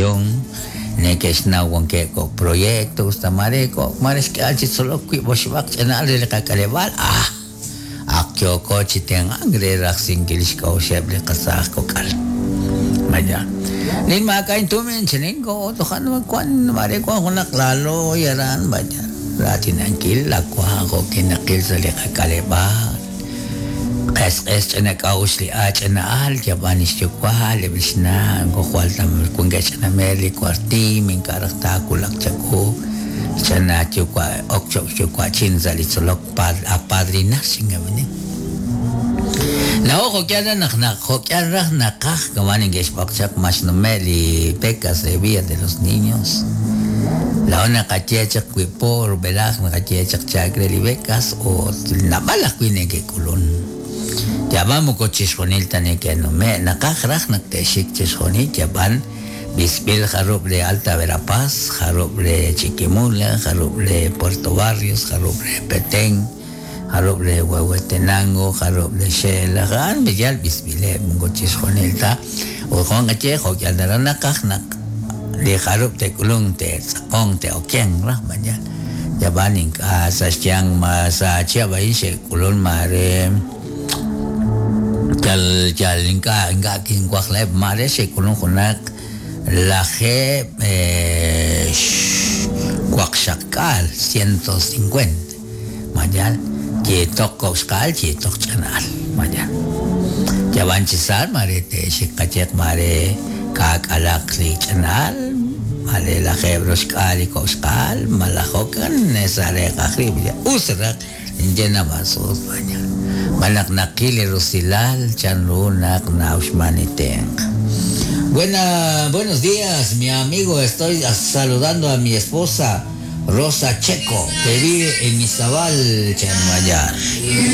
educación neke'xnaw wankeb' kok' proyecto usta mare kok' mare xk'ehal chi tzolok wiib' oxib'aq ch'ina'al re li qak'aleb'aal ah ak yooko chi tenq'ank re rajsinkil xk'a'uxeb' li qasaaj kok'al. Vaya. Nin maak'a' intumin chininko toja' wan mare wan junaq laalooy aran vaya. Raatinankil la wank jo' kinaqil sa' li qak'aleb'aal. Q'esq'es ch'ina k'a'uxl li a ch'ina'al yab'an lix yuwa' eb' lix na' jwal wankeb' ch'ina meer li kwartiim ink'a' raj taawulaq chawu ch'ina yuwa' ok cho'q yuwa'chin sa' li tzolok apadrinar xingaminin. Laa'o jo'k'ihal raj naq naq jo'k'ihal raj naqaj kama neke'xb'oq chaq ma xnume' li becas re Villa de los Niños. Laa'o naqaye chaq wiib' po rub'elaj naqaye chaq chaak re li becas ut naab'al ajwi' neke'k'ulun. Yab'an moko chixjunil ta neke'nume' naqaj raj naq te'xik chixjunil yab'an b'isb'il jarub' re Alta Verapaz, jarub' re Chiquimula, jarub' re Puerto Barrios, jarub' re Petén, jarub' re Huehuetenango, jarub' re Xela, a'an yal b'isb'ileb' moko chixjunil ta. Ut jun qaye jo'k'ihal naraj naqaj naq li jarub' te'k'ulunk te'tz'aqonq te'okenq raj vaya. Yab'an ink'a' sa' xyanq ma sa' chihab' a'in xe'k'ulun mare yal yal ink'a' ink'a' kinwajlaheb' mare xe'k'ulun junaq lajeeb' waqxaqk'aal 150 mayal yeetoq kok' xqa'al yeetoq ch'ina'al mayal. Yab'an chi sa' mare te'xik qayeq mare ka'k'alaq li ch'ina'al mare lajeeb' roxk'aal li kok' xqa'al malaj jo'kan sa' reeqaj rib' us raj ninye nab'asuut vaya. Malaj naqil li rusilal chanru naq na'uxman li tenq'. Buenos días, mi amigo. Estoy saludando a mi esposa Rosa Checo, que vive en Izabal, Chanmayar.